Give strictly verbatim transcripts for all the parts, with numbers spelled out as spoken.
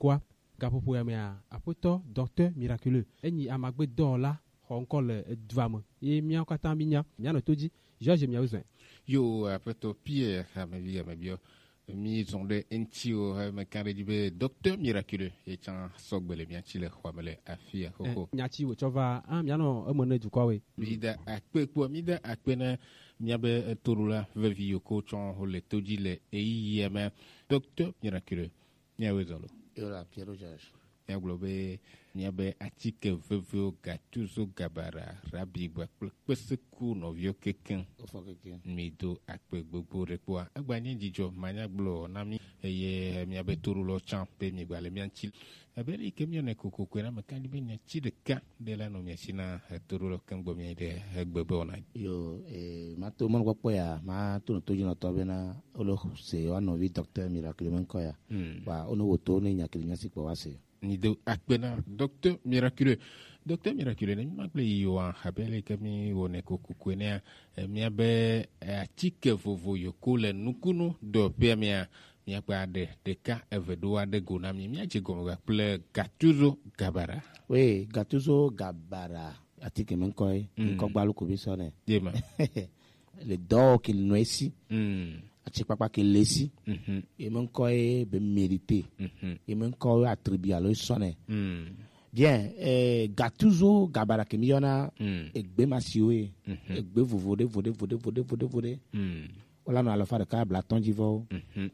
Wa gaƒoƒo ya mea, aƒetɔ Docteur Miraculeux, enyi amagbedɔwɔla xɔ ŋkɔ le edua me. Ye míawo katã mínya, míanɔ to dzi. George, miawo zɔe. Yo, aƒetɔ Pierre, amevi, amebiɔ. Mi zɔn ɖe eŋti o, he me kan ɖe dzi be Docteur Miraculeux, ye tsã sɔgbe le mía tsi le xɔa me le afia xoxo. Eh, nya tsi wòtsɔ va, ah, míanɔ eme ne dukɔawoe. Mi da akpe kpɔ, mi da akpe na míabe toɖola vevi yiwo ko tsɔ wo le to dzi le ɣeyiɣia me. Docteur Miraculeux, míawoe zɔ lo. Yo la, Pierre George. Míagblɔ be míabe atike veviwo, Gattuso, Gabara, Rabi kpakple Kpeseku nɔviwo kekeŋ. Wofɔ kekeŋ. Mi do akpe gbogbo ɖe kpɔa. Egba nye dzidzɔ manyagblɔ na mi eye míabe toɖolɔ tsã be mi gba le mía ŋuti. Ebe ɖe yi ke míanɛ kokoko na me kan be nya tsi ɖeka ɖe la nɔ mia si na etoɖolɔ keŋ gbɔ mia yi ɖe egbe be wɔna. Yo, eh, ma to mɔnukpɔkpɔ ya, ma to no to dzi nɔtɔ bena wole se wa nɔvi Docteur Miracle me ŋkɔ ya. Hmm. Wa wo no wo to ne nya kele mia si kpɔ wa se. Ni do akpe na Docteur Miracle. Docteur Miracle ne mi ma gble yi wa habe le ke mi wo ne kokoko ne ya, eh, mia be, eh, atike vovo yo ko le nukunu do pe mia. Míakpa ɖe ɖeka eve ɖo aɖe go na mi. Míadze gɔme kple Gattuso Gabara. Oui, Gattuso Gabara, atike me ŋkɔ ye, mm, ŋkɔ gbalu ko mi sɔ nɛ. Ye ma. Le dɔ ke nɔ esi. Mm. Atsikpakpa ke le esi. Mhm. Ye me ŋkɔ ye be mérité. Mhm. Ye me ŋkɔ ye attribut alo sɔ nɛ. Mm. Bien, eh, Gattuso Gabara ke mi yɔna, mm, egbe masiwo ye. Mhm. Egbe vovo ɖe, vo ɖe, vo ɖe, vo ɖe, vo ɖe, vo ɖe. Mm. Wala nɔ alafa ɖeka blatɔn dzi vɔ. Mhm.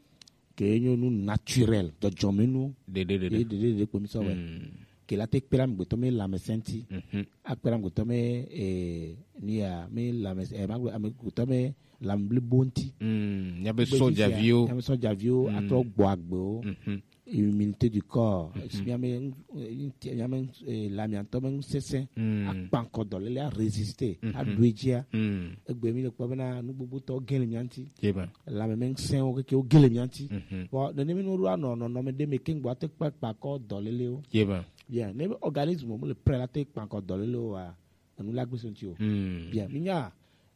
Ke nyo nu naturel, dzɔdzɔmenu. Ɖeɖe, ɖeɖe. Ɖeɖe, ɖeɖe kpo mi sɔ wɛ. Mm. Ke la te kpela mi gbetɔ mi lãmesẽ ŋti. Mhm. Akpela mi gbetɔ mi, eh, ni ya, mi lãmesẽ, eh, ma gbe, ame gbetɔ mi lãme blibo ŋti. Mm. Nya be sɔdzaviwo. Nya be sɔdzaviwo, mm, atrɔ gbɔ agbewo. Mhm. Humilité du corps. Mhm. Esi mía me, mía me, eh, la mía ŋutɔ me ŋusesẽ, mm, akpa ŋkɔ dɔléle, a résister, mhm, aɖu edzia. Mm. Egbe mi le kpɔ bena nu gbogbotɔ gẽ le mía ŋuti. Yema. Lãme me ŋusẽwo keke wo gẽ le mía ŋuti. Mhm. Bon, nene mi nu ɖo anɔ nɔnɔme ɖe me keŋ gbɔ ate kpa, kpa kɔ dɔlélewo. Yema. Bien, ne be organisme mu le prêt la te kpa ŋkɔ dɔlélewo wa, enu la gbe so ŋuti o. Mm. Bien, mi nya,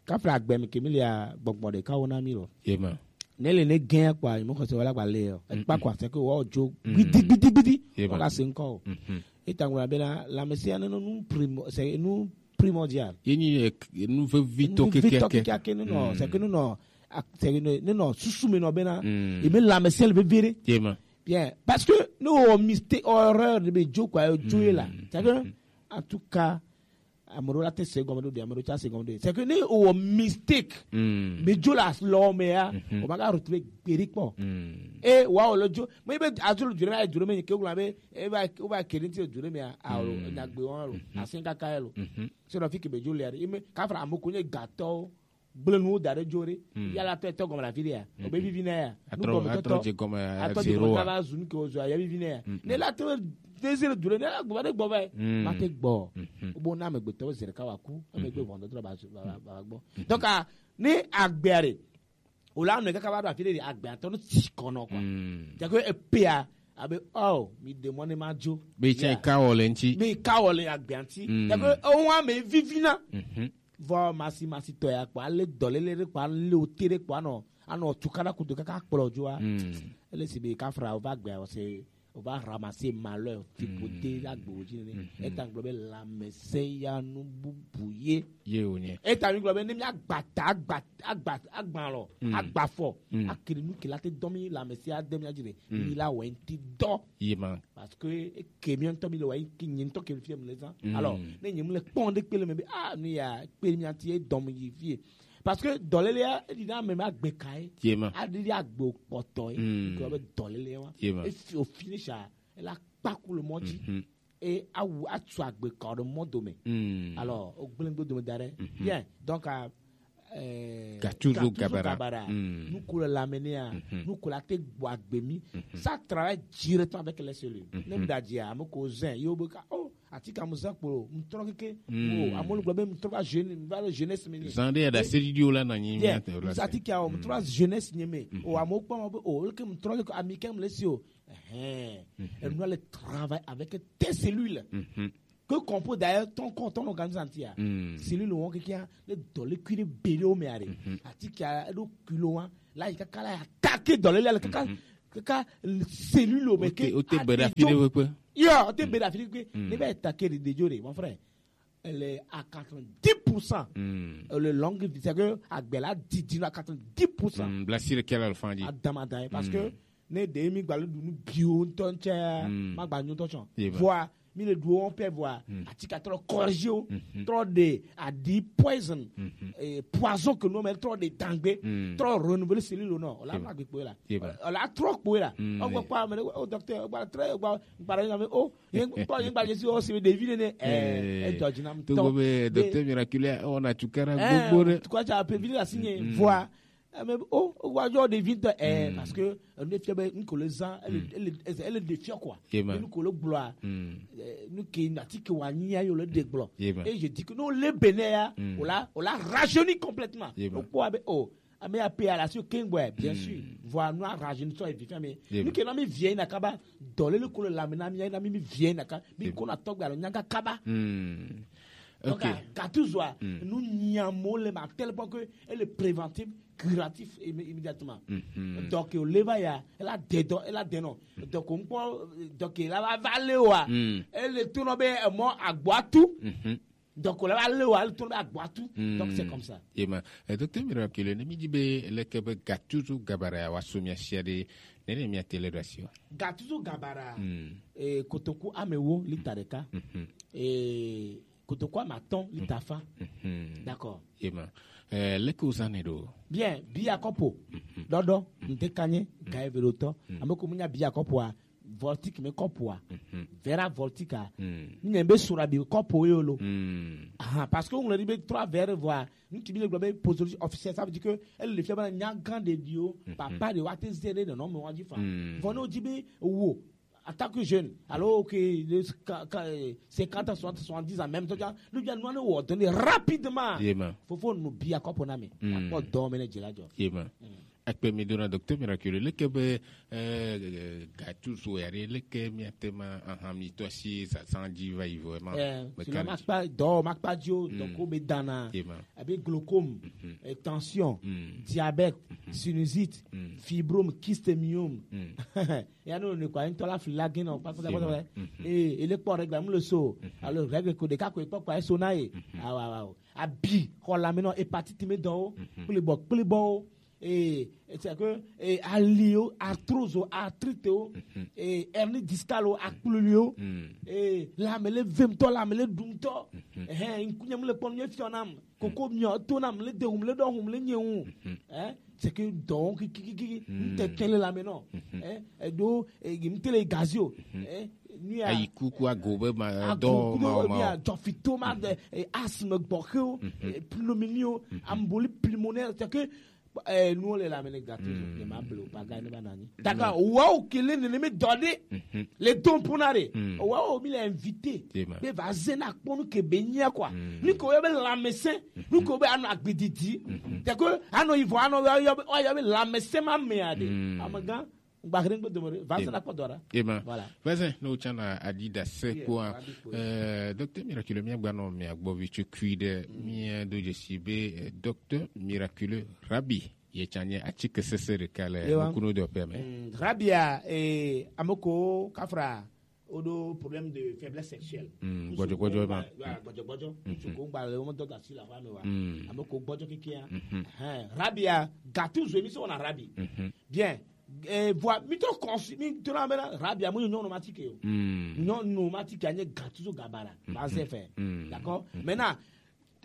kafla agbe mi ke mi lia gbɔgbɔ ɖeka wo na mi lo. Yema. Ne le ne gẽ kpɔa, mi xɔse wala gba le o. Mm, ekpa kɔ ase ke wo dzo, mm, gbidi, gbidi, gbidi. Yema. Wala se ŋkɔ o. Mhm. Eta ŋgɔ bena, la mesia ne nu primo, c'est nu primordial. Ye nyi, eh, k-, nu vevitɔ. Nu vevitɔ keke. Keke ake nu nɔ, mm, c'est que nu nɔ, ak-, c'est que nu, nu nɔ susu me nɔ bena, mm, e me la mesia le vevere. Yema. Bien, parce que ne o mistake, o erreur de be dzo kpɔa, o dzo ye la. Mm. C'est que, mm, en tout cas, ame ɖewo la te se gɔme ɖo ɖi, ame ɖewo tsa se gɔme ɖo ɖi. C'est que ne o mistake, mm, be dzo la lɔ me ya, mhm, o ma ga retrouver gberi kpɔ. Mm. E wa o le dzo, me be adzo le dzo me, adzo le me ke gula be, e va, o va keri ti dzo le me ya, a o, mm, nyagbe wa lo, mhm, asen kaka ya lo. Mhm. Se no fi ke be dzo le ya, e me, kafra ame ko nye gatɔ, gble nuwo da ɖe dzo ɖe. Mm. Ya la tɔ etɔ gɔme la fi ɖe ya. Mm. O be vivi na ya. Atrɔ, nu gɔme tɔtɔ, atrɔ dze gɔme ya, atrɔ dze gɔme zero a. Kaba zu nu ke o zu ya, ya vivi na ya. Mm. Ne la te dezire du ɖe, ne la gbɔ ɖe gbɔ va. Mm. Ma te gbɔ. Mhm. O bo na amegbetɔwo zi ɖeka wa ku, ebe gbe, mhm, vɔndɔdrɔ ba, ba, ba, ba gbɔ. Mhm. Donc, a, ne agbea ɖe, o la nɔ kaka va ɖo afi ɖe, agbea tɔ no tsi kɔ nɔ quoi. Mm. Cɛ ko epea, abe, oh, mi ɖe mɔ ne ma dzo. Be tsa, yeah, ka wɔ le ŋti. Be ka wɔ le agbea ŋti. Mm. Cɛ ko o wa me vivi na. Mhm. Vɔ masi masi tɔ ya kpɔ, ale dɔléle ɖe kpɔ, ale o te ɖe kpɔ, anɔ, anɔ tukaɖa kudo kaka kplɔ dzoa. Mm. Ele si be kafra o va gbea, o se, o va ramasser malheur, ti pote, mm, agbe o dzi ne. Mhm. Eta gblɔ be lãmesẽ ya nu bubu ye. Ye o nye. Eta mi gblɔ be ne mi agba ta, agba, agba, agba lɔ, mm, agba fɔ, mm, akele nu ke la te dɔ mi lãmesẽ ade mi adzi ɖe, mm, mi la wɛ ŋti dɔ. Ye ma. Parce que eke mi ŋutɔ mi le wa yi ke nye ŋutɔ ke fie mi le zã. Mm. Alors, ne nye mu le kpɔn ɖe kpe le me be, ah, nu ya kpe mi ati e dɔm yi fie. Parce que dɔléle ya, e ɖi na ame ma gbe ka ye. Ye ma. A ɖi ɖi agbe kpɔtɔ ye. Mm. Ke be dɔléle wa. Ye ma. E fi, o finish a, e la kpaku le mɔ dzi. Mhm. E awu, atu agbe ka ɖe mɔ dome. Mm. Alors, o gblẽ gbe dome da ɖe. Mhm. Bien. Donc, a, eh, Gattuso Gattuso Gabara. Gabara. Mm. Nu ko le lãme nɛ ya, mhm, nu ko la te gbɔ agbe mi. Mhm. Ça travaille directement avec les cellules. Mhm. Ne mi da dzi a, ame ko zɛn, yo be ka, oh, ati ka mu zã kpo, mu trɔ keke. Mm. Oh, ame le gblɔ be mu trɔ va jeune, va le jeunesse mi ni. Zã ɖe ya da se ɖiɖiwo la na nyi. Yeah. Mi ate la se. Ati ka o, mu trɔ va jeunesse nye me. Mhm. Oh, ame kpɔ ma be, oh, le ke mu trɔ keke, ami ke mu le si o. Ɛhɛn. Mhm. Enu le travail avec tes cellules. Mhm. Que qu'on peut d'ailleurs ton corps, ton organisme entier. Mm. Cellule wo keke a, le dɔléle kui ɖe be ɖe o me are. Mhm. Ati ka eɖo kilo wa, la yi kaka la attaquer dɔléle le kaka. Mhm. kaka cellule o me ke o te be ɖe afi ɖe ƒe kpe. Yo, o te be ɖe afi ɖe kpe. Ne va attaquer ɖe ɖe dzo ɖe, mon frère, elle est à quatre-vingt-dix pour cent. Le longue vie, c'est que agbe la didi à quatre-vingt-dix pour cent. Bla si ɖe kɛ la le fan dzi. Adama da, parce que ne ɖe mi gba le ɖu nu bio ŋutɔ ŋtsɛ, ma gba nyo ŋutɔ tsɔ. Voilà. Mi le ɖuwo ƒe vɔa, atike trɔ corriger wo, trɔ ɖe aɖi poison, eh, poison ke no me trɔ ɖe dangbe, trɔ renouveler cellule no, o la ma gbe kpoe la. O la trɔ kpoe la. O gba kpa me, o docteur, o gba trɛ, o gba, gba me, o, ye kpɔ, ye gba Jésus, o se ɖevi nene, eh, e dɔ dzi nam. To go be docteur miraculé, on a tukara gbogbo ɖe. Tu crois tu as prévu la signe, voilà. Ame o, o wa yɔ ɖevi ŋutɔ, eh, parce que enu fia be nu ko le zã, ele, ele, ele, ele ɖe fia quoi. Enu ko le gblɔa, eh, nu ke na ti ke wa nyi ya yo le ɖe gblɔ. Et je dis que non, le Bénin ya, o la, o la rajeuni complètement. O kpɔ abe, o, ame ya pe à la sur king boy, bien sûr. Voilà, nous a rajeuni sur les vieux, mais nu ke na mi vie na kaba, dɔ le ko le lame na mi, na mi, mi vie na ka, mi ko na tɔgbe alo nyaga kaba. Donc, Gattuso a, nous nyamo le ma tel point que elle est préventive, curatif immé-, immédiatement. Donc, o le va ya, elle a des dons, elle a des noms. Donc, on peut, donc, elle va, va le wa. Elle est tout nommé, moi, à Guatu. Donc, on va le wa, elle tourne à Guatu. Donc, c'est comme ça. Ema, eh, docteur Miraculé, ne mi di be, le ke be Gattuso Gabara, wa sumia shia de, ne ne mi a tele rasio. Gattuso Gabara, eh, kotoku amewo, lita ɖeka. Eh, kotoku ame atɔ̃ lita fa. D'accord. Ema. Eh, leke uzane ɖo? Bien, bia kɔpo. Ɖɔɖɔ, nte kanye, gaye veɖotɔ. Ame ko munya bia kɔpoa, voltique me kɔpoa. Vera voltique a. Nye be sura bi kɔpo yo lo. Aha, parce que on le dit be trois verres, voilà. Nous tu le globe posologie officielle, ça veut dire que elle le fait ba nya grand de Dieu, papa de wa te zere de non me wa di fa. Vɔ no di be wo, en tant que jeune, alors que le, ka, ka, eh, cinquante ans, soixante, soixante-dix ans, même temps, nous bien, nous allons donner rapidement. Faut, faut nous bien qu'on a mis. D'accord, dormez les djela djo. Akpe mi dona docteur Miraculé, leke be, eh, Gattuso ya ɖe, leke mi atema, aha, mi to asi sa, sa dzi va yi vɔ, ema. Eh, me sinon, kan ma kpa dɔ, ma kpa djo, donc, o be dana. Abe glaucome, eh, tension, diabète, sinusite, fibrome, kyste, myome. Ya no ne kwa ŋutɔ la fli la gɛn nɔ kpakpa kpakpa. Ee, ele kpɔ règle mu le so. Alors règle ko ɖeka ko ekpɔ kpa eso na ye. Awa, awa, o. Abi xɔ lame nɔ, hépatite me dɔwo, kple bɔ, kple bɔwo. Ee, c'est que, ee, aliwo, arthrose o, arthrite o, ee, hernie discale o, akpluli o. Ee, lame le vemtɔ, lame le ɖumtɔ. Ɛhɛn, ŋkunye mu le kpɔ nu ye fiɔ nam. Koko miɔ to nam le de hum le dɔ hum le nye ŋu. Hein? C'est que donc kikikiki, ntete le lame nɔ. Hein? Edo, e, ntele gazio. Hein? Ayi kuku ago be ma dɔ ma o ma. Jɔfito ma de, e, asthme gbɔxewo, e, pneumonie o, embolie pulmonaire, c'est que, e, nous on est là, mais les gâteaux, ne ma blo pa ga ne ba nani. D'accord, wawo kele ne me donner les dons pour nare. Wawo mi le invité. Be va zena kpɔnu ke be nyia quoi. Ni ko be lamɛsɛn, ni ko be ano agbedidi. C'est que ano ivo ano yo be lamɛsɛn ma me ade. Amagan Gbahre ŋgbe domore, va se na kpɔ dɔ ɖa. Ema. Voilà. Vɛsɛ, ne wotsana Adidas kpoa, eh, Docteur Miraculé, míagba nɔ mia gbɔ vi tso kui ɖe, mía do dzesi be, eh, Docteur Miraculé Rabi, ye tsanye atike sese ɖeka le nukunu dɔƒea me. Mm, Rabia, eh, amoko kafra, woɖo problème de faiblesse sexuelle. Mm, gbɔdzɔgbɔdzɔ ma. Gbɔdzɔgbɔdzɔ. Ŋutsu ko ŋgba le wo me dɔ asi le aƒea me wa. Amoko gbɔdzɔ kekia. Hɛn, Rabia, Gattuso, mi se wɔna Rabi. Bien. Eh, vɔa, mi trɔ kɔnsi, mi trɔ na bena Rabia, mu nyɔnu ma tike o. Nyɔnu ma tike anye Gattuso Gabara, va ze fɛ. D'accord? Maintenant,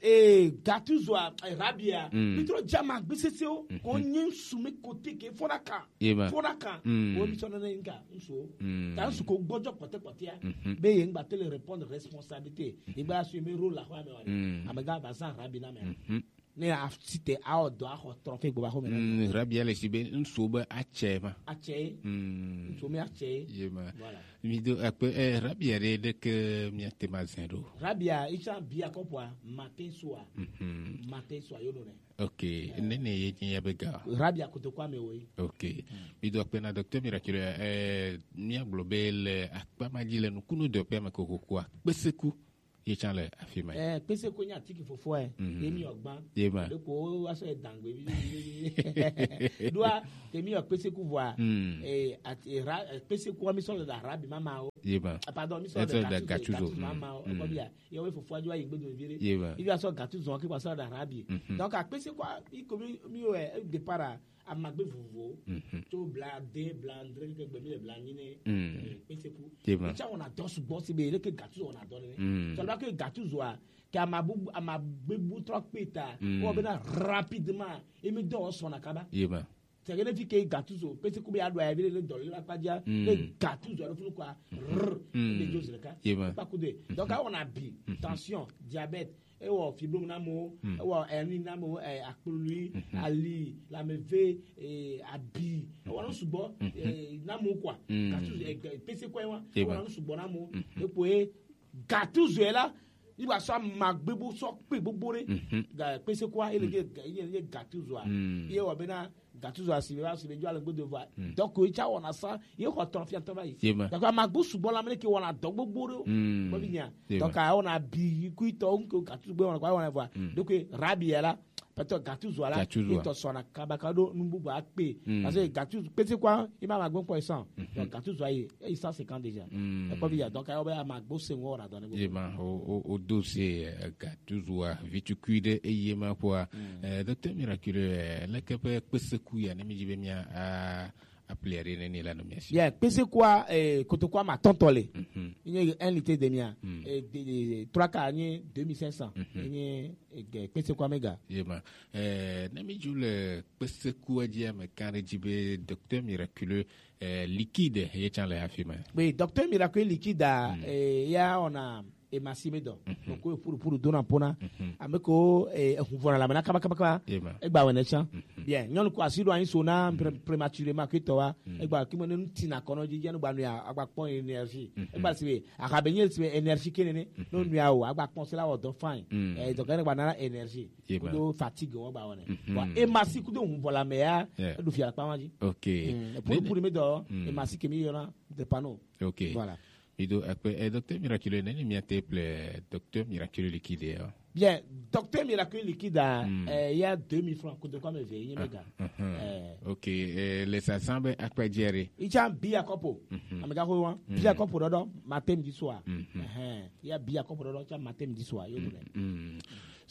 eh, Gattuso a, eh, Rabia, mi trɔ dza ma gbe sese o, ko nyi su mi kote ke fona kan. Fona kan. O mi sɔ nene nka, nso. Ta nsu ko gbɔdzɔ kpɔtɛ kpɔtɛ ya. Be ye ngba tele répondre responsabilité. Ye ngba assumer rôle la xɔ ame wa. Amega ba zan Rabi na me. Ne a si te a o dɔ a xɔ trɔfe gbɔ ba xɔ me na. Mm, Rabia le si be nso be atsɛ ma. Atsɛ. Mm. Nso me atsɛ. Ye ma. Voilà. Mi do akpe, eh, Rabia ɖe ɖe ke mi ate ma zɛn ɖo. Rabia, itsa bia kɔpua, matin soir. Matin soir, yo no ne. Ok, nene ye nyi ya be ga. Rabia kotokua me wo yi. Ok. Mi do akpe na Docteur Miraculé, eh, mi agblɔ be le akpa ma dzi le nukunu dɔƒea me kokoko a, kpeseku. Ye can le afi ma. Eh, kpese ko nya tiki fofo e. Mhm. Ye mi yɔ gban. Ye ma. De ko wa so e dangbe bi. Dua ke mi yɔ kpese ku vɔa. Mm. Eh, at, eh, ra, eh, kpese ko mi so le da rabi mama o. Ye ma. Ah, pardon, mi so le da gatuzo mama o. Mm. Ko bia. Ye we fofo ajo ayi gbedo vire. Ye ma. Ibi aso gatuzo ke kwa so da rabi. Mhm. Donc a kpese ko i ko mi mi o e départ a amagbe vovovowo. Mhm. Tso bla de, bla andre, ke gbe mi le bla nyi ne. Mm. Eh, kpese ku. Tema. Etsa wɔna dɔ sugbɔ si be leke gatu wɔna dɔ ne. Mm. Tso la ke gatu zoa ke ama bu ama gbe bu trɔ kpe ta. Mm. O be na rapidement emi dɔ sɔna kaba. Yema. Tɛgɛ ne fi ke gatu zo kpese ku be adu ayi bi le dɔ le la kpadza. Mm. Le gatu zo alo funu kwa. Rrr. Mm. Le jo zreka. Yema. Pas coup de. Donc a wɔna bi, tension, diabète, ewɔ fibrome na mo, ewɔ hernie na mo, eh, akplui, ali, lamɛve, eh, abi, ewɔ na sugbɔ, eh, na mo quoi. Gatu, eh, pese quoi wa, ewɔ na sugbɔ na mo. Epo e gatu zo la, iba sɔ ma gbebo sɔ pe gbogbo re. Ga pese quoi, ele ge, ele ge gatu zo a. Ye wɔ bena gatu zo asibe ba asibe jo ale gbedo va. Donc o tsa wɔna sa ye xɔ tɔn fia tɔn va yi. D'accord, ma gbo sugbɔ la mele ke wɔna dɔ gbogbo ɖo. Ko bi nya. Donc a wɔna bi ku tɔ nko gatu gbe wɔna kwa wɔna va. Donc rabi ya la, pɛtɛ gatu zo la. Gatu zo. Tɔ sɔna kaba ka ɖo nubu ba pe. Parce que gatu pete kwa i ma ma gbo ko san. Donc gatu zo ayi e san cinquante déjà. E ko bi ya, donc a wɔna ma gbo se wɔna dɔ ne. Yema o o o dossier gatu zo a vitu kui de e yema kwa. Eh, docteur Miraculeux, eh, leke ƒe kpeseku ya ne mi dzi be mia a appeler ne ni la no mia si. Yeah, kpesekua, eh, kotokua ma tɔntɔ le. Nye un litre demi a. Eh, de, de, trois quarts nye deux mille cinq cents. Nye, eh, kpesekua mega. Yema. Eh, ne mi dzi le kpesekua dzi ame kan ɖe dzi be docteur Miraculeux, eh, liquide ye can le afi ma. Oui, docteur Miraculeux liquide a, eh, ya ona emasi me dɔ. Donc ko puru puru dona pona. Ame ko, eh, ehun vɔna la mena kaba kaba kaba. Egba wene chan. Bien, nyɔnu ko asi ɖo anyi so na prématurément ke tɔ wa. Egba ki mo ne tina kono ji jenu gba nu ya agba kpɔ énergie. Egba si be akabe nye si be énergie ke nene. No nu ya o agba kpɔ se la wɔ dɔ fine. Eh, donc ne gba na énergie. Ko do fatigue wɔ gba wene. Bon, emasi ko do hun vola me ya. Edu fia pa ma ji. OK. Puru puru me dɔ, emasi ke mi yona de pano. OK. Voilà. Mi do akpe, eh, docteur Miraculeux, neni mia te ple docteur Miraculeux liquide ya? Bien, docteur Miraculeux liquide a, eh, ya deux mille francs, kote kwa me ve, ye mega. Eh. OK, eh, le sa san be akpe jere. I can bi a kopo. Amega ko wa. Bi a kopo dodo, matin, midi, soir. Eh, ya bi a kopo dodo, can matin, midi, soir, yo dole.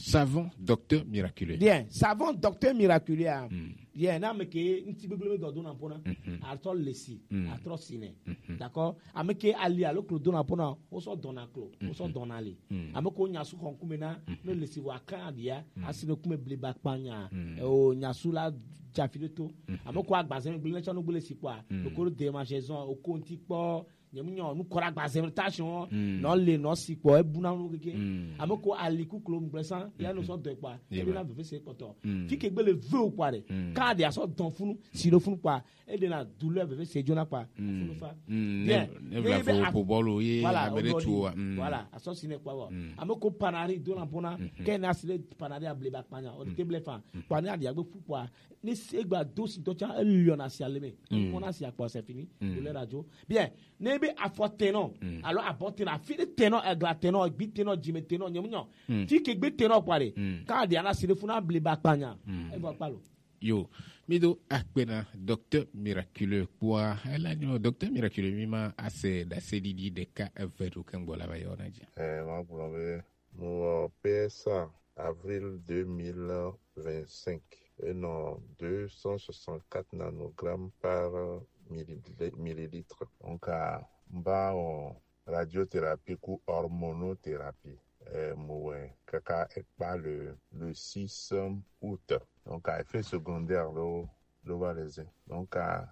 Savon docteur Miraculeux. Bien, savon docteur Miraculeux a. Bien, na me ke nti gbegble me dɔ dona pona. Atɔ lesi, atɔ sine. D'accord? Ame ke ali alo klo dona pona, o sɔ dɔna klo, o sɔ dɔna ali. Ame ko nyasu xɔn kume na, no lesi wa kan dia, asi no kume ble ba kpanya. O nyasu la jafi de to. Ame ko agbazeme gble na chano gble si kwa. Ko de ma saison o konti kpɔ. Nye mu nyɔ nu kɔra gba zɛmɛ ta sɔn nɔ le nɔ si kpɔ ebu na nu keke. Ame ko ali ku klo ŋgble san ya no sɔ dɔ kpa ebi na veve se kpɔtɔ. Fi ke gbele ve o kpa de ka de asɔ dɔn funu si do funu kpa e de na douleur veve se jona kpa funu fa. Bien ne be fo bɔlu ye voilà ame de tu wa. Voilà asɔ si ne kpa wa ame ko panari do na bona ke na si le panari able ba kpanya o de te ble fa kpa ne adi agbe fu kpa ni se gba do si dɔ tsa e liɔ na si ale me. Mo na si akpɔ c'est fini douleur radio. Bien ne be afɔ tenɔ alo abɔ tenɔ afi ɖe tenɔ egla tenɔ egbi tenɔ dzime tenɔ nyemu nyɔ fi ke gbe tenɔ kpa ɖe ka ɖi ana si ɖe funa bli ba kpanya evɔ kpa lo. Yo, mi do akpe na docteur Miraculeux kpɔa ela nyɔ docteur Miraculeux mi ma ase ɖase ɖiɖi ɖeka eve ɖo ke ŋgbɔ la va yɔ na dzi. Eh, ma gblɔ be Mo wɔ P S A avril deux mille vingt-cinq enɔ deux cent soixante-quatre nanogrammes par millil-, millilitre. Donc, a, mba wɔ radiothérapie ku hormonothérapie. Eh, mo wɛ kaka ekpa le, le six août. Donc, a effet secondaire lo, lo va les. Donc, a,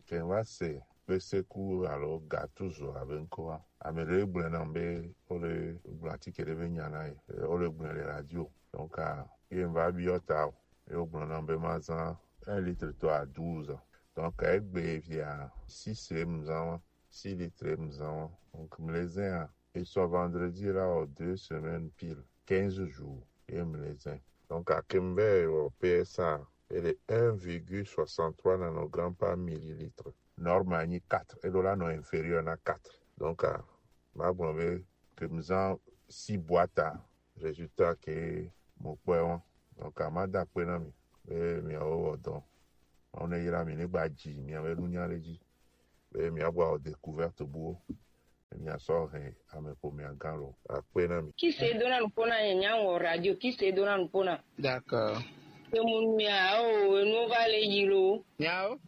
ke va se kpese ku alo gatuzo abe ŋkɔa. Ame ɖe gblɔe nam be wole gblɔ atike ɖe be nya na ye. Wole gblɔe le radio. Donc, a, ye va biɔ ta o. Ye wogblɔ nam be mazã un litre tɔ à douze. Donc, egbe via six ye mzã wa, six litres ye mzã wa. Donc, mlezẽ a, et soit vendredi là, aux deux semaines pile, quinze jours, ye mlezẽ. Donc, à Kimber, au P S A, elle est un virgule soixante-trois nanogrammes par millilitre. Norme anyi quatre, et là, non inférieur à quatre. Donc, à, ma bon, mais, que nous en si boîte-a, résultat ke mo kpɔe wɔn. Donc, a ma da akpe na mi be miawo wɔ dɔ. Mawu ne yra mi, ne gba dzi miawo nunya ɖe dzi be miagba wɔ découverte buwo. Miasɔ hɛn ame ƒomea gã lo. Akpe na mi. Qui se donne nous pona, nya wɔ radio, qui se donne nous pona. D'accord. Ke mu nua o, enu va le yi lo. Nyawo?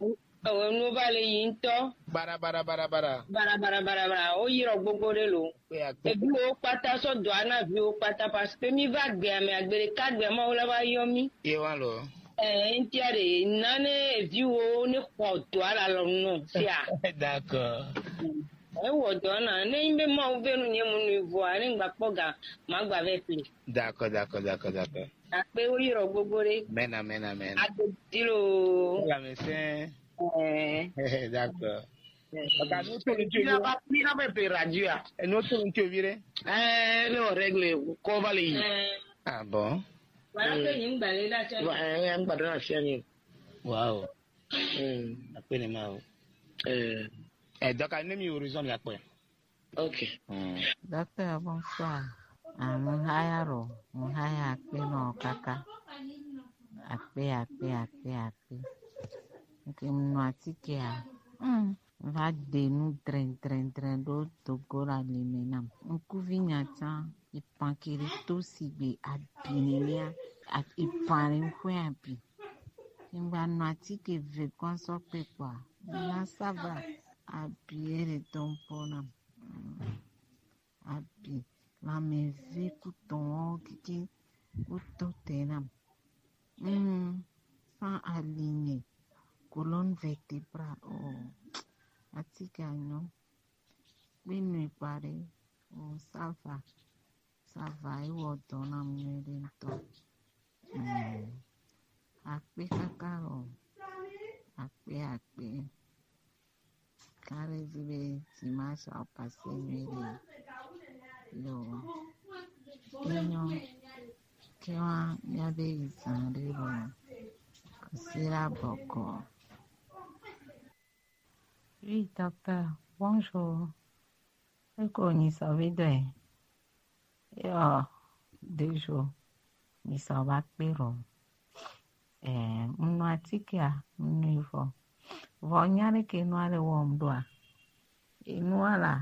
Ewe nu va le yi ŋutɔ. Bara, bara, bara, bara. Bara, bara, bara, bara. Wo yi ɖɔ gbogbo ɖe lo. Kpe akpe. Eviwo kpata sɔ dɔa na viwo kpata parce que mi va gbea me agbe ɖeka gbea Mawu la va yɔ mi. Ye wa lo. Eh, ŋtia ɖe nane eviwo ne xɔ dɔa la lɔ nɔ sia. D'accord. Ewɔ dɔ na ne nyi be Mawu ve nu nye mu nui vɔa ne ŋgba kpɔ ga ma gba vɛ pli. D'accord, d'accord, d'accord, d'accord. Akpe wo yi ɖɔ gbogbo ɖe. Amen, amen, amen. Agbe di lo. Wala me se. Eh. D'accord. Eh. Ọ̀gá, ní o tó ní tí o yé. Ní a bá, ní a bá pe radio a. Ẹ ní o tó ní tí o yé rẹ. Ẹ ní o règle kọ́ bá lè yìí. Ah bon. Wàá pè ní gbàlẹ́ láti. Ẹ ń gbàdúrà sí ẹni. Wow. Mm. Akpe ni ma o. Eh. Eh, donc, à Nemi Horizon, il y a quoi? Ok. Mm. Docteur, bonsoir. Ah, mo haya ro, mo haya akpe no kaka. Akpe, akpe, akpe, akpe. Ok, mo no atike a. Mm. Va de nu dren, dren, dren do dogo la lime nam. Ŋkuvi nya tsa, ipan kiri to sigbe abi nenia, a-, ipan re ŋkɔe abi. Ŋgba nɔ atike ve kɔ sɔ kpe kpɔa, na ça va. Abi ere tɔn po nam. Mm. Abi, lanmeve ku tɔn wo keke wo to te nam. Mm. Sans aligner, colonne vertébrale, oh. Atike a nyɔ. Kpe nui kpaɖe, oh, ça va. Ça va, ewɔ dɔ na mu nyuiɖe ŋutɔ. Mm. Akpe kaka lo. Akpe, akpe. Kare vi be dimanche a passé nyuiɖe. Lo. Enyo. Ke wa mía be yi zã ɖe lo. Kɔsi la bɔkɔ. Oui, docteur, bonjour. Eko nyi sɔ vi dɔ e. Yo, deux jours. Mi sɔ va kpe ɖo. Eh, mu nu atike a, mu nu vɔ. Vɔ nya ɖe ke nua le wɔm ɖoa? Enua la,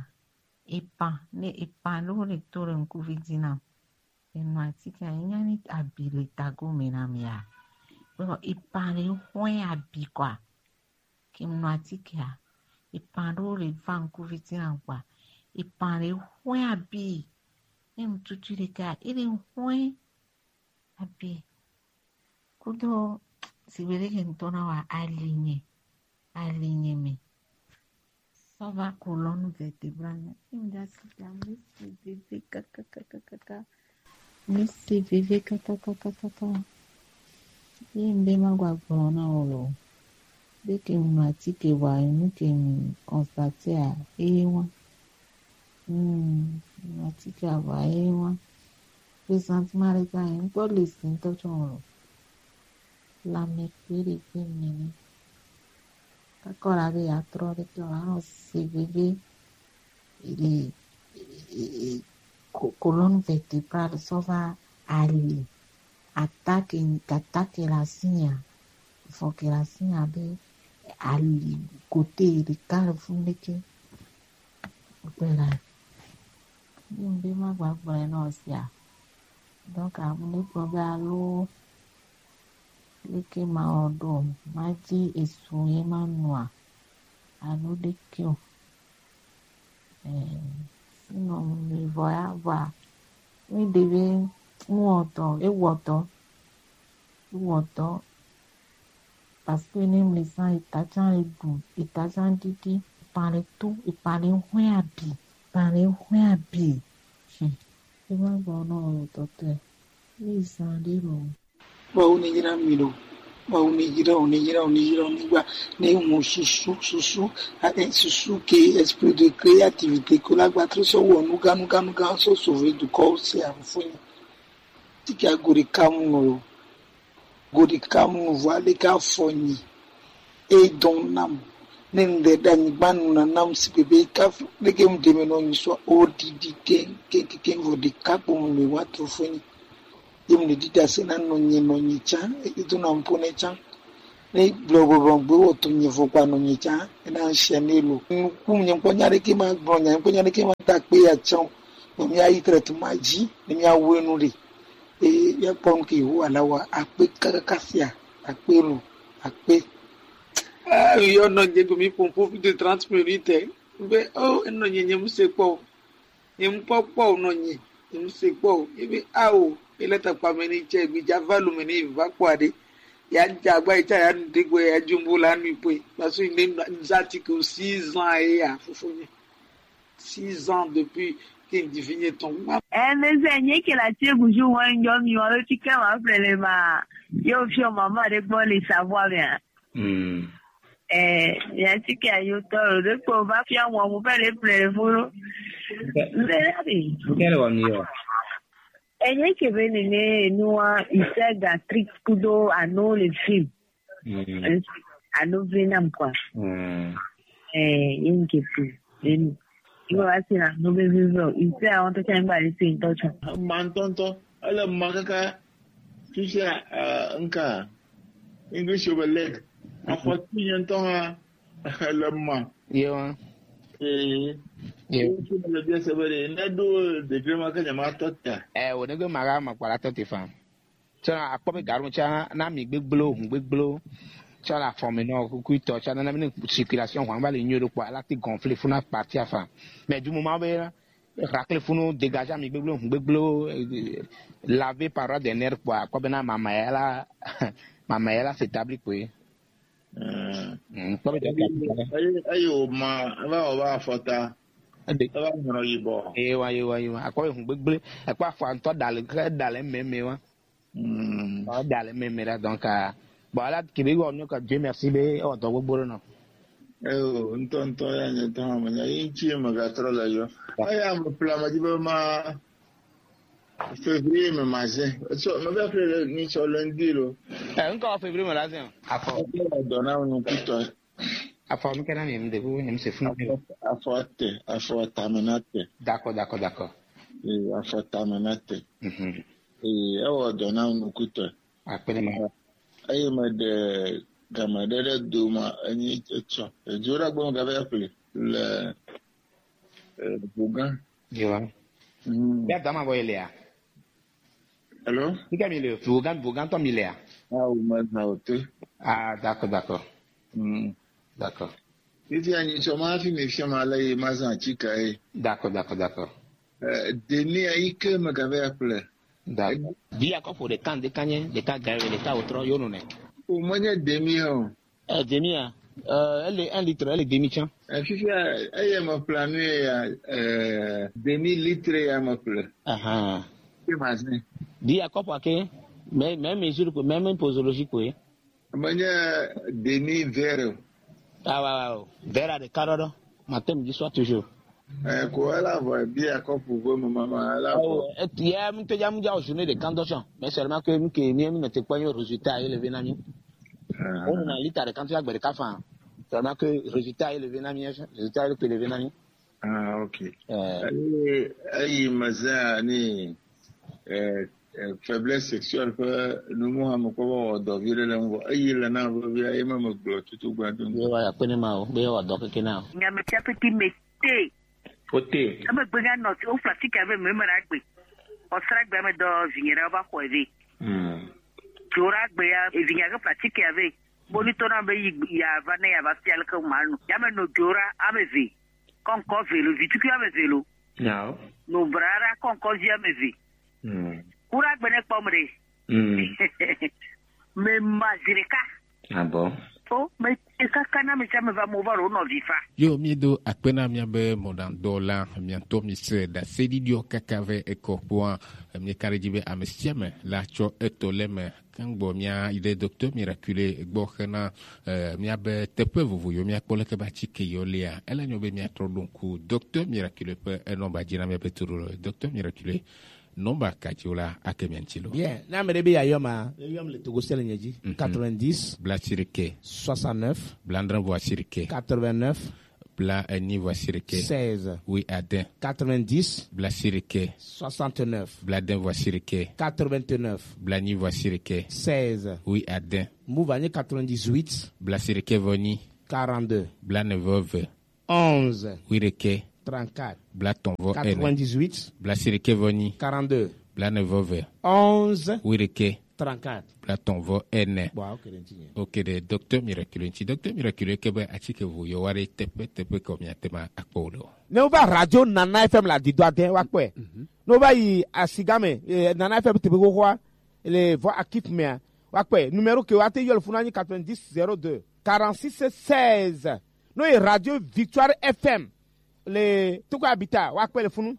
epan, ne epan ɖo le to le ŋkuvi dzi nam. Enu atike a, enya ni abi le tago me na mi a. Vɔ epan le hɔe abi kɔa. Ke mu nu atike a, epan ɖewo le va ŋkuvi dzi nam kpɔa, epan ɖe hɔe abi. Ne ŋututui ɖeka, ele hɔe abi. Kudo sigbe ɖe ke ŋutɔ na wa ali nye, ali nye me. Ça va, colonne vertébrale. Ŋda si ta, mi se veve kakakakaka. Mi se veve kakakakaka. Ye ŋde ma gba gblɔ na wo lo. Be ke mu atike wa, nu ke mu constate a, eye wa. Hmm, atike a wa, eye wa. Ke sentiment ɖe ka, ŋkpɔ le si ŋutɔ tsɔ lo. Lanmɛ kpe ɖe kpe nene. Kakɔ la be yeatrɔ ɖe ke wòanɔ se veve. E, e, e, e, ko-, colonne vertébrale sɔ va ali. Attaque, attaque la sinya. Vɔ ke la sinya be ali côté ɖeka le funu ɖeke. Kpe la. Ŋde ma gba gblɔe na wo sia. Donc, amu ne kpɔ be alo leke ma wɔ ɖo, ma dzi esu ye ma nua, alo ɖeke o. Eh, sinon, mi vɔ ya vɔa, mi ɖe be nuwɔtɔ, ewɔtɔ, ewɔtɔ. Parce que ne mlesa eta tsa le ɖu, eta tsa ɖiɖi, epan le to, epan le hɔe abi, epan le hɔe abi. Hmm. Ema gbɔ nɔ o tɔtɔe. Mi zan ɖe lo. Mawu ne yra mi ɖo. Mawu ne yra o, ne yra o, ne yra o, ne gba, ne ŋu susu, susu, a, e, susu ke esprit de créativité ko la gba trɔ sɔ wɔ nuga, nuga, nuga sɔ sauver dukɔ se afunyi. Tike a go ɖeka mu lo. Go ɖeka mu vɔ ale ka fɔ nyi. E dɔn nam. Ne ŋde ɖe anyigba nu na nam si bebe kafu ɖeke mu ɖeme nɔ nyi sɔ o ɖiɖi keŋ keŋ keŋ vɔ ɖeka kpo mu mi wa trofo nyi. Ye mu ɖe ɖiɖa se na nɔnye nɔnye tsã, e do na mpo ne tsã. Ne gblɔ gblɔ gbe wɔ to nye vɔ kpa nɔnye tsã, e na ŋshia ne lo. Nuku nye ŋkpɔ nya ɖeke ma gblɔ nya, ŋkpɔ nya ɖeke ma ta kpe ya tsã. Bɔ mi ayi traitement dzi, ne mi awu enu ɖe. E ya kpɔ nu ke wo ala wa akpe kakaka sia, akpe lo, akpe. Ah, yo nɔ nye go mi ƒo ƒu de trente minutes. Be, oh, enɔ nye nye mu se kpɔ o. Nye mu kpɔ kpɔ o nɔ nye. Nye mu se kpɔ o. Ebe, ah, o, ele takpa me ni tse, gbi dza va lu me ni va kpɔ aɖe. Ya dza agba yi tsa ya nu de gbe ya dzumbo la nu ipoe. Parce que ne za ti ke six ans ye ya fofo nye. Six ans depuis que n di vinye tɔn. Wa. Eh, mais c'est rien que la tue bougie, ouais, un homme, il y a le ticket, on va appeler les ma. Yo, fier maman, avec moi, les savoir bien. Hmm. Eh, ya ti ke ayo tɔ o, ɖe kpo va fia wɔn mo fɛ ɖe ple fo. Nde ya bi. Nke le wɔ mi o. Enye ke be nene nua ise gastrique kudo ano le film. Hmm. Ano ve nam kwa. Hmm. Eh, enke tu. Enu. Iwa wasi na no be vivo. Ise awon to changba le film to cho. Ma ŋutɔŋutɔ, ele ma kaka fifia, eh, nka English be leg. Afɔti nye ŋutɔ hã ele ma. Yewa. Ee. Yewa. Wo tsi le bia se be ɖe ne ɖo degré ma ke nyama tɔ ta. Eh, wo ne ge ma ga ma kpala tɔ te fa. Tsɔ akpɔ be gaɖo tsã na mi gbegblẽwo, hũ gbegblẽwo. Tsɔ le afɔ me nɔ kukuitɔ tsã nana mi ne circulation hɔn va le nyuie ɖo kpɔ ala ti gonfler funa partie afa. Mais du moment be rakle funu dégager mi gbegblẽwo, hũ gbegblẽwo, eh, laver par ordre de nerf kpɔ akpɔ be na mama ya la mama ya la s'établir kpɔe. Mm. Mm, kpɔ be dɔka. Eyi eyi o ma eva o va afɔta. Ede. Eva nyɔnɔ yibɔ. Ewa ewa ewa akpɔ be hũ gbegblẽ ekpɔ afɔ ŋutɔ da le ke da le mɛmɛ wa. Mm. Ɔ, da le meme ɖa, donc, ah, bon, ala kebe wɔ nu ka Dieu merci be ewɔ dɔ gbogbo ɖe nɔ. Eyo, ŋutɔ ŋutɔ ya nye tɔ me nya yi ŋuti me ga trɔ le yɔ. Eya me pla me dzi be ma février me ma zẽ. Etsɔ me va ƒle le ni tsɔ lundi lo. Eh, ŋkɔ février me la zẽ. Afɔ. Etsɔ dɔ na nu kutɔ. Afɔ mi kena mi de bu nyem se funu. Afɔ, afɔ te, afɔ tame na te. D'accord, d'accord, d'accord. Ee, afɔ tame na te. Mhm. Ee, ewɔ dɔ na nukutɔ. Akpe ɖe ma. Eye meɖe game ɖe ɖe do ma enyi etsɔ. Edzo ɖe agbe me gava ƒle le, eh, Vogan. Yewa. Mm. Ya dama bɔ elea. Hello? Nika mi le, Vogan, Vogan tɔ mi lea? Ah, o ma na o te. Ah, d'accord, d'accord. Mm. D'accord. Titi anyi tsɔ ma fi mi fiɔ ma le yi ma zã atsika ye. D'accord, d'accord, d'accord. Eh, demi ayi ke me gava ya ƒle. D'accord. Bi akɔ ƒo ɖeka ŋde kanye, ɖeka gawe, ɖeka wotrɔ yo nune. O menye demi o. Eh, demi ya. Eh, elle est un litre, elle est demi tiens. Eh, fifia, eye me ƒle nu ye ya, eh, demi litre ya me ƒle. Ahan. Ke ma zẽ. Bi akɔ ƒo ake, mais, mais mesure ko, mais, mais posologie ko ye. Menye demi verre o. Ah, ouais, ouais, ouais. Verre ɖeka ɖɔɖɔ. Matin, midi, soir, toujours. Eh, ko ela vɔ, bia kɔpu ve me mama, ela vɔ. Oh, et, ya, mi te ya, mi ya, journée de candochon. Mais seulement que, mi ke, mi, mi ne te kpɔ résultat élevé na mi. Ah. On a lita de candochon, agbe de kafa. Seulement que résultat élevé na mi, résultat élevé na mi. Ah, ok. Eh. Eh, eyi me zã ni, eh, eh, faiblesse sexuelle ƒe numu hã mekpɔ be wɔ dɔ vi ɖe le ŋgɔ. Eyi le na vevia, ye me megblɔ tutu gba do. Ye wa ya kpene ma o, be wɔ dɔ keke na o. Nyame tia peti me te. O te. Eme gbe nya nɔ ti o fla ti ka be me me na gbe. O sra gbe me dɔ vinye na ba xɔ ve. Hmm. Jora gbe ya, e vinye ke fla ti ka ve. Boni to na be yi ya va ne ya va fia le ke ma nu. Ya me no jora ame ve. Kɔnkɔ ve lo, vitukui ame ve lo. Nyawo. No brara kɔnkɔ vi ame ve. Mm. Kura gbene kpɔm ɖe. Mm. Me ma zi ɖeka. Abɔ. O, me te kaka na me tsa me va mo va ɖo nɔvi fa. Yo, mi do akpe na mia be mɔɖaŋdɔla, mia ŋutɔ mi se ɖaseɖiɖiɔ kaka vɛ ekɔ kpɔa, mi ka ɖe dzi be ame sia ame la tsɔ etɔ le me. Ke ŋgbɔ mía yi ɖe Docteur Miraculé gbɔ hena, eh, míabe teƒe vovo yiwo míakpɔ leke be atike yiwo lia, ele nyo be míatrɔ ɖo ŋku Docteur Miraculé ƒe enɔmba dzi na míabe toɖoɖo. Docteur Miraculé, Nɔmba kaciwo la ake mia ŋuti lo. Bien, ne ame ɖe be yeayɔ ma, eyɔm le Togo se le nye dzi. Mhm. Quatre-vingt-dix, bla asirike, soixante-neuf, bla adre vɔ asirike, quatre-vingt-neuf, bla enyi vɔ asirike, seize, oui, ade, quatre-vingt-dix, bla asirike, soixante-neuf, bla ade vɔ asirike, quatre-vingt-neuf, bla enyi vɔ asirike, seize, oui, ade. Move anyi quatre-vingt-dix-huit, bla asirike vɔ enyi, quarante-deux, bla ene vɔ eve, onze, oui, ɖekɛ, trente-quatre, bla etɔn vɔ ene, quatre-vingt-dix-huit, bla asirike vɔ enyi, quarante-deux, bla ene vɔ eve, onze, oui, ɖekɛ, trente-quatre, bla etɔn vɔ ene. Bon, ok ɖe ŋuti nye. Ok ɖe, Docteur Miraculé ŋuti. Docteur Miraculé ke be atike vovovowo ɖe teƒe teƒe ke miate ŋu akpɔ wo le o. Ne wova Radio Nana F M le Adidoa de, woakpɔe. Mhm. Ne wova yi Asigame, eh, Nana F M teƒe xoxoa, le vɔ Akif mea, woakpɔe. Numéro ke woate yɔ le funu anyi quatre-vingt-dix zéro deux, quarante-six seize. No yi Radio Victoire F M le Togo Abita, woakpɔe le funu.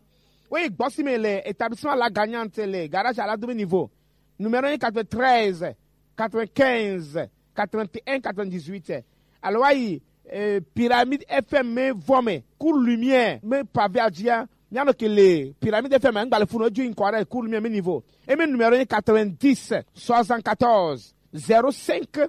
Woyi Gbɔsime le établissement La Gagnante le garage à la demi niveau. Numéro quatre-vingt-treize, quatre-vingt-quinze, quatre-vingt-un, quatre-vingt-dix-huit. Alo woyi, eh, Pyramide F M me vɔ me, Cour Lumière me pavé adzia. Mianɔ ke le Pyramide F M, ŋgba le funu edzo ŋkɔ ɖe Cour Lumière me niveau. Eme numéro quatre-vingt-dix, soixante-quatorze, zéro cinq,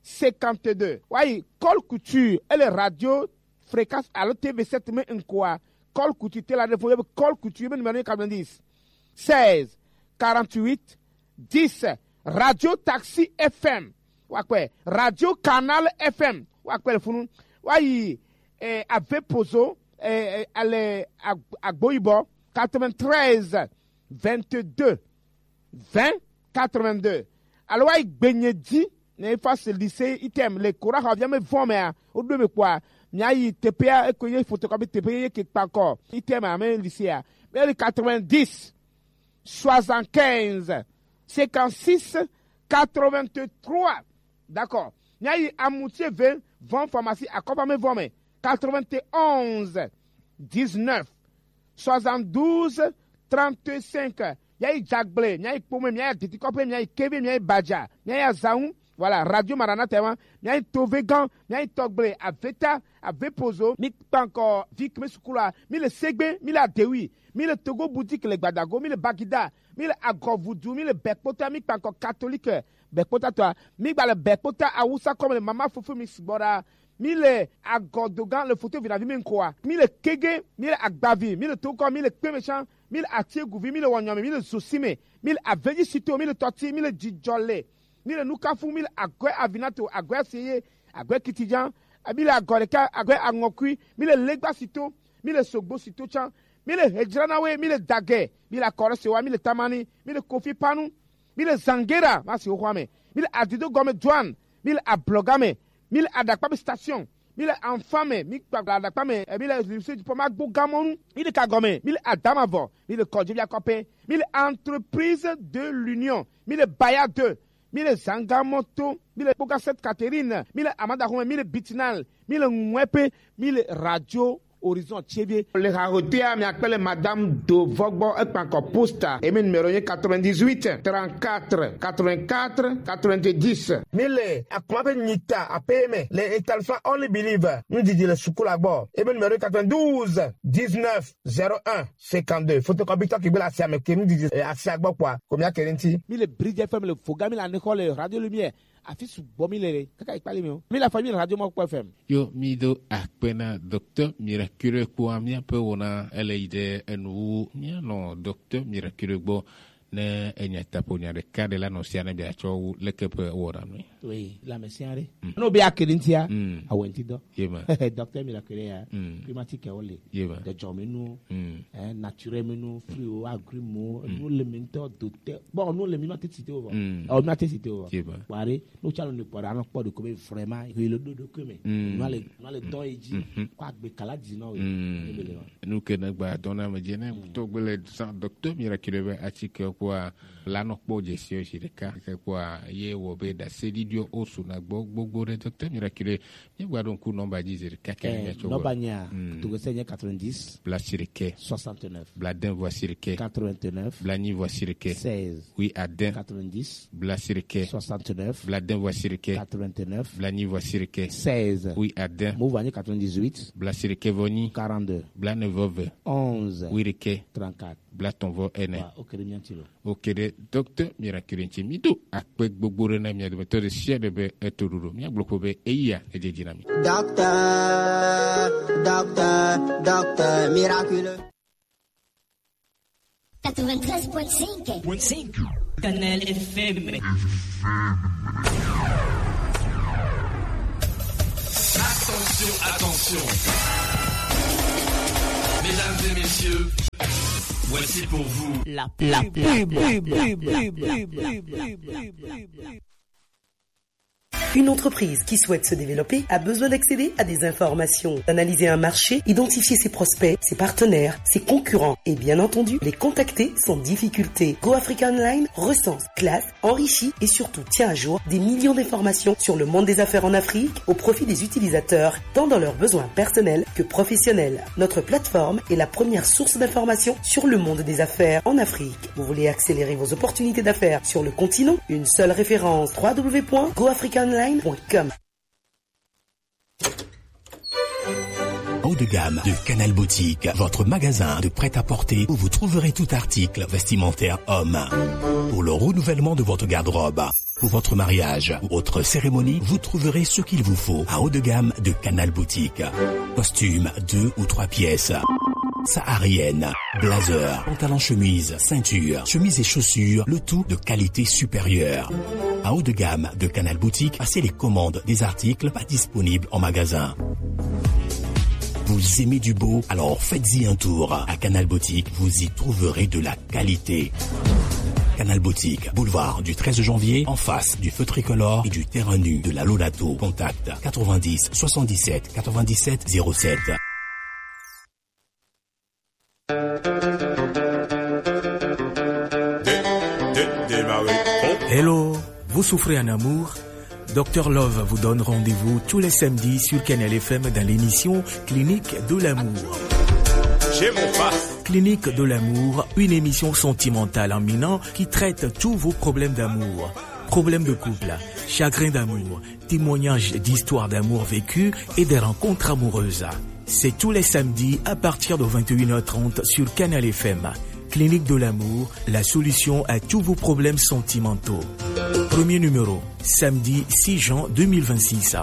cinquante-deux. Woyi Col Couture, ele Radio Fréquence alo T V sept me ŋkɔa. Col Couture, te la ɖe fo, Col Couture, eme numéro quatre-vingt-dix, seize, quarante-huit, dix. Radio Taxi F M, woakpɔe. Radio Canal F M, woakpɔe le funu. Woyi, eh, Ave Pozo, eh, eh, ale Ag-, Agboyibɔ, quatre-vingt-treize, vingt-deux, vingt, quatre-vingt-deux. Alo woyi Gbenye dzi, ne face lycée item le Kora xɔ via me vɔ mea, woɖo me kpɔa, miayi teƒea, eko ye photocopie teƒe ye ke kpakɔ item ame lycée a. Be le quatre-vingt-dix, soixante-quinze, cinquante-six, quatre-vingt-trois. D'accord. Miayi Amutie ve vɔ pharmacie akɔfame vɔ me, quatre-vingt-onze, dix-neuf, soixante-douze, trente-cinq. Miayi Dzagble, miayi Kpome, miayi Aditikɔƒe, miayi Kebe, miayi Badza, miayi Azanwu. Voilà, Radio Maranatha wa. Miayi Tovegan, miayi Tɔgble, Aveta, Avepozo. Mi kpankɔ Vic me sukula, mi le Segbe, mi le Adewi, mi le Togo Boutique le Gbadago, mi le Bagida, mi le Agɔvudu, mi le Bɛkpota, mi kpankɔ Catholique Bɛkpota tɔa, mi gba le Bɛkpota Awusa kɔme le Mama Fofo mi sugbɔ ɖa. Mi le Agɔdogan le foto vinavi mi ŋkɔa. Mi le Kege, mi le Agbavi, mi le Tokɔ, mi le Kpemeshan, mi le Atieguvi, mi le Wɔnyɔme, mi le Zosime, mi le Aveji Sito, mi le Tɔti, mi le Jijɔle, mi le Nukafu, mi le Agɔe Avinato, Agɔe Aseye, Agɔe Kitijan, mi le Agɔ ɖeka, Agɔe Aŋɔkui, mi le Legba Sito, mi le Sogbo Sito tsan, mi le Hejranawe, mi le Dagɛ, mi le Akɔrɔsewa, mi le Tamani, mi le Kofi Panu, mi le Zangera, ma si xoxoa me, mi le Adido gɔme Joan, mi le Ablɔga me, mi le Aɖakpa be station, mi le Anfa me, mi kpakpla Aɖakpa me, eh, mi le Lycée du Pont Magbo Gamɔnu, mi le Kagɔme, mi le Adamavɔ, mi le Kɔdzi via kɔpe, mi le Entreprise de l'Union, mi le Baya deux, mi le Zangamoto, mi le Kpoga Sainte Catherine, mi le Amadaxome, mi le Bitinal, mi le Ŋuɛpe, mi le Radio Horizon T V. Le hahotea miakpe le Madame Dovɔgbɔ ekpankɔ posta. Emi numéro ye quatre-vingt-dix-huit, trente-quatre, quatre-vingt-quatre, quatre-vingt-dix. Mi le akuma ƒe nyita aƒe me le établissement Only Believe. Nudidi le suku la gbɔ. Emi numéro quatre-vingt-douze, dix-neuf, zéro un, cinquante-deux. Photocopie tɔ kigbe le asia me ke nudidi, eh, asia gbɔ kpɔa, ko miake ɖe ŋuti. Mi le Bridge F M le Foga, mi le Anexɔ le Radio Lumière. Afi sugbɔ mi le ɖe, kaka yi kpali mi o. Mi le afɔ mi le Radio Mɔkpɔ F M. Yo, mi do akpe na Docteur Miraculé kpoa míaƒe wɔna ele yi ɖe enu wu. Míanɔ Docteur Miraculé gbɔ ne enya taƒo nya ɖeka ɖe la nɔ sia ne biatsɔ wu leke ƒe wɔna nui. Oui, la me sia ɖe. Mm. No be akedi ŋutia, mm, awenti dɔ. Ye ma. Docteur Miraculé ya, mm, climatique wo le. Ye ma. Dɔdzɔme nu, mm, eh, naturel me nu, fruit wo, agrumes wo, mm, nu le mi ŋutɔ do te. Bon, nu le mi ma te cité wo. Mm. Oh, mi ma te cité wo. Ye ma. Ware, no chalo ne kpɔ ɖa, no kpɔ ɖe ko be vraiment, he le do do ko me. Mm. No le, no le dɔn yi dzi. Mhm. Ko agbe kala dzi no. Mm. Ne be le wa. Nu ke ne gba dɔn na me dzi ne, mm, to gbe le san Docteur Miraculé be atike kpoa la no kpɔ dzesi o si ɖeka. Ke kpoa ye wo be da se di dio o su na gbɔ gbogbo ɖe Docteur Miraculé. Míegba ɖo ŋku nɔmba dzi zi ɖeka ke, eh, míatsɔ nɔmba wɔ. Nyea, mm, to gbe se nye quatre-vingt-dix, bla si ɖekɛ, soixante. Bladen vɔ asiɖekɛ. Blaenyi vɔ asiɖekɛ. Wiaden. Blaasiɖekɛ. Bladen vɔ asiɖekɛ. Blaenyi vɔ asiɖekɛ. Wiaden. Blaasiɖekɛ vɔ enyi. Blaene vɔ eve. Wiɖekɛ. Blaatɔn vɔ ene. Oke ɖe, docteur Miracle ŋuti, mi do akpe gbogbo ɖe na mia dometɔ ɖe sia ɖe be eto ɖoɖo. Mia gblɔ ko be eya ne dzedzi na mi. Docteur, docteur, docteur Miracle. Quatre-vingt-treize point cinq. Canal F M. Attention, attention. Mesdames et messieurs, voici pour vous la pub. Une entreprise qui souhaite se développer a besoin d'accéder à des informations, d'analyser un marché, identifier ses prospects, ses partenaires, ses concurrents et bien entendu les contacter sans difficulté. Go Africa Online recense, classe, enrichit et surtout tient à jour des millions d'informations sur le monde des affaires en Afrique au profit des utilisateurs, tant dans leurs besoins personnels que professionnels. Notre plateforme est la première source d'information sur le monde des affaires en Afrique. Vous voulez accélérer vos opportunités d'affaires sur le continent ? Une seule référence, trois w point go africa online point com. Haut de gamme de Canal Boutique, votre magasin de prêt-à-porter où vous trouverez tout article vestimentaire homme. Pour le renouvellement de votre garde-robe, pour votre mariage ou autre cérémonie, vous trouverez ce qu'il vous faut à Haut de gamme de Canal Boutique. Costume deux ou trois pièces, saharienne, blazer, pantalon chemise, ceinture, chemise et chaussures, le tout de qualité supérieure. À Haut de gamme de Canal Boutique, passez les commandes des articles pas disponibles en magasin. Vous aimez du beau ? Alors faites-y un tour. À Canal Boutique, vous y trouverez de la qualité. Canal Boutique, boulevard du treize janvier, en face du feu tricolore et du terrain nu de la Lonato. Contact quatre-vingt-dix soixante-dix-sept quatre-vingt-dix-sept zéro sept. Hello, vous souffrez en amour ? Docteur Love vous donne rendez-vous tous les samedis sur Canal F M dans l'émission Clinique de l'amour. Clinique de l'amour, une émission sentimentale en minant qui traite tous vos problèmes d'amour. Problèmes de couple, chagrin d'amour, témoignages d'histoires d'amour vécues et des rencontres amoureuses. C'est tous les samedis à partir de vingt et une heures trente sur Canal F M. Clinique de l'amour, la solution à tous vos problèmes sentimentaux. Premier numéro, samedi six juin deux mille vingt-six.